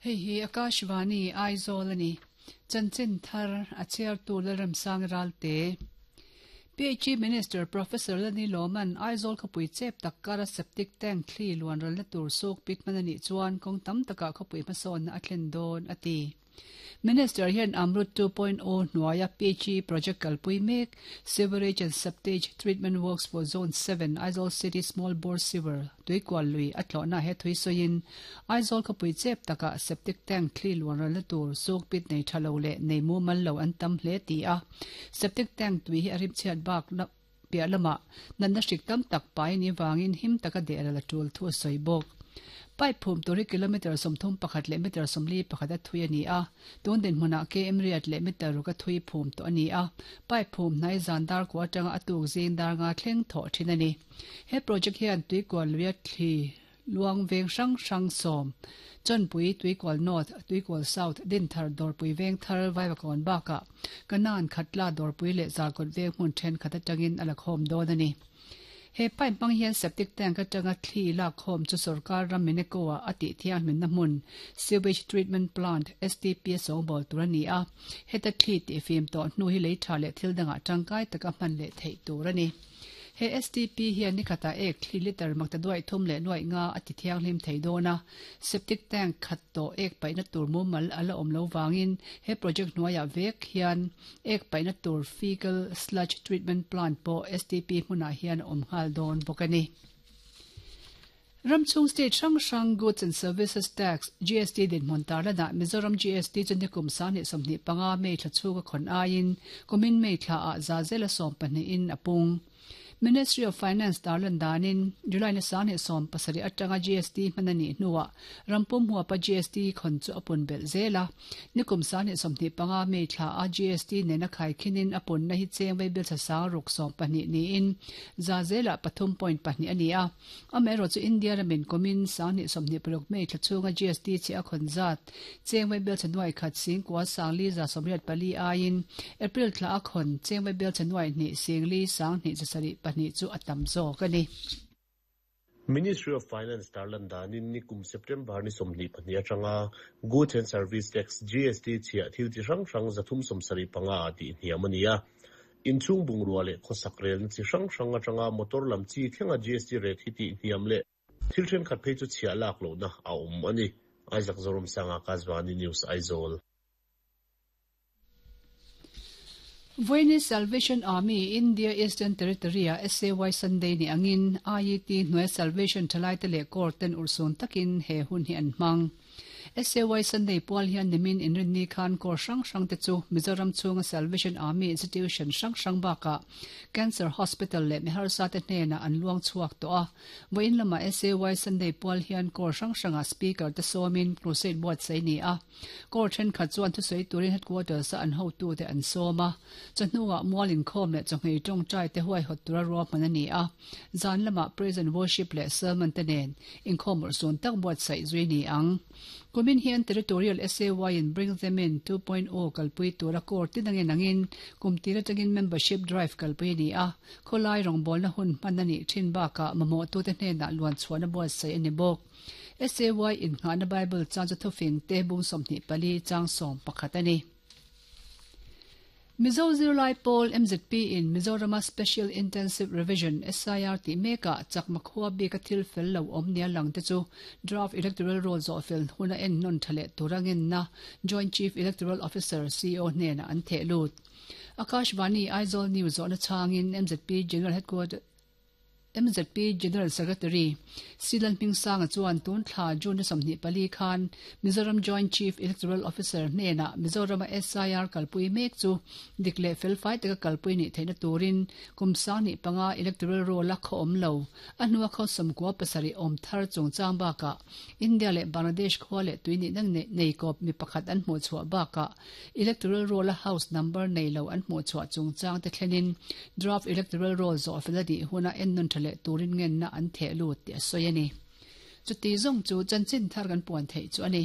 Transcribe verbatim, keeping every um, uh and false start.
Hei hi Akashvani Aizawl ani. Chanchin thar a chhiar tu Lalramsang Ralte. P H E Minister Professor Lani Loman Aizawl khawpui chep tak kara septic tank thli luan ral na tur suk pit man ani chuan kawng tam taka khawpui hmasawn a thlen dawn a ti. Minister hian Amrut two point oh hnuaia P H E project kalpui mek Sewerage and Septage Treatment Works for Zone seven Aizawl City Small Bore Sewer tuikual lui a tlawhna he thui sawiin Aizawl khawpui chep taka septic tank thli luan ral na tur suk pit nei thalo le nei mu mal lo an tam hle ti a. Septic tank tui hi a rim chhiat bak piah lama natna hrik tam tak pai ni wangin him taka de la tul thu a sawi bawk. Pipe phum turi kilometer sawmthum pakhat leh meter sawmli pakhat a thui ani a. Tun din hmunah K M riat leh meter ruk a thui phum tawh ani a. Pipe phum hnai zan dar ko atanga a tuk zing dar nga thleng thawh thin ani. He project hian tuikual luia thli luang veng hrang hrang sawm Chawnpui, Tuikual North, Tuikual South, Dinthar, Dawrpui Vengthar, Vaivakawn bakah Kanan, Khatla, Dawrpui leh Zarkawt veng hmun thenkhat atangin a la khawm dawn ani. He pipe hmang hian septic tank atanga thli lak khawm chu sarkar ram Mineko a ati thiang hmin na hmun Sewage Treatment Plant S T P sawngbawl tur ani a. Heta thli ti fim tawh hnu hi lei tha leh thil dangah tangkai taka hman leh theih tur ani. He S T P hian ni khata ek thli liter makta duai thum leh nuai nga ati thiang hlim thei dawna. Septic tank khat to ek paina tur mu mal ala awm lo wangin he project hnuaia vek hian ek paina tur fecal sludge treatment plant pawh S T P hmunah hian awm nghal dawn bawk ani. Ramchung state hrang hrang Goods and Services Tax G S T din hmun tarlana Mizoram G S T chu nikum sang hnih sawmhnih panga May thla chhunga khawn aiin kumin May thla ah za zela sawm pahnih in a pung. Ministry of Finance tarlan danin July na sang hnih sawm pasarih atanga G S T hman ani hnuah rampum huapa G S T khon chu apun bel zela. Nikum sang hnih sawmhnih panga May thla a G S T nena khai khinin apun na hi cheng vei bil sang ruk sawm pahnih niin za zela pathum point pahnih ani a. Amaherawh chu India ramin kumin sang hnih sawmhnih paruk May thla chhunga G S T chi a khon zat cheng vei bel chanuai khat sing kwa sangli za sawmriat pali aiin April thla a khon cheng vei bel chanuai hnih singli sang hnih zasarih pahnih chu a tam zawk ani. Ministry of Finance tarlan danin nikum September ni sawmhnih pahnih atanga Goods and Service Tax G S T chhiah thil chi hrang hrang zathum sawmsarih panga a tih hniam ani a. Inchhung bungrua leh khawsak relna chi hrang hrang atanga motor lam chi thlenga G S T rate hi tih hniam leh thil thenkhat phei chu chhiah lak lohna a awm ani. Isaac Zoram Sanga, Akashvani News, Aizawl. Voini Salvation Army India Eastern Territory a S A Y Sunday ni angin I E T hnuai Salvation thalai te leh court ten ursun takin he hun hi an hmang. S A Y Sunday pual hian nimin inrinni khan kor hrang hrang te chu Mizoram chhunga Salvation Army Institution hrang hrang baka Cancer Hospital leh miharsa te hnena an luang chhuak to a. Voin lama S A Y Sunday pual hian kor hrang hranga speaker te sawmin crusade buat sei ni a. Kor then khat chuan thu sei turin headquarters a an hotu te an sawma. Chahnuwa mualin khom leh chawhmeh tawng tai te huai hot tura ruwa hman ani a. Zan lama praise and worship leh sermon te nen inkhawm ursun tak buat sai zui ni ang. Kumin hian Territorial S A Y in Bring Them In two point oh kalpui tura kor tinangin angin kumtira tangin membership drive kalpui ni a. Kholai rongbol na hun hman ani thin baka mamo tu te hnena luan chuan a buat sai ani bawk. S A Y in nga na Bible chang chu thufing te bung sawmhnih pali chang sawm pakhat ani. Mizo Zirlai Pawl M Z P in Mizorama Special Intensive Revision S I R ti meka chakma khuwa bi ka thil fel lo awm nia lang te chu draft electoral roll zawh fel huna en non thale turangin na Joint Chief Electoral Officer C O hnena an theh lut. Akashvani Aizawl News zawhna changin M Z P General Headquarters M Z P General Secretary Silan Hmingsanga chuan tun thla June sawmhnih pali khan Mizoram Joint Chief Electoral Officer hnena Mizoram S I R kalpui mek chu dik leh felfai taka kalpui ni theihna turin kum sang hnih panga electoral roll a khaw awm lo a hnua khaw sawmkua pasarih awm thar chungchang baka India leh Bangladesh khua leh tui ni nang nei kawp mi pakhat an hmuh chhuah baka electoral roll a house number nei lo an hmuh chhuah chungchang te thlenin draft electoral roll zawh fel a dih huna en nun tha leh turin ngen na an theh lut ti a sawi ani. Chuti zong chu chanchin thar kan puan thei chu ani.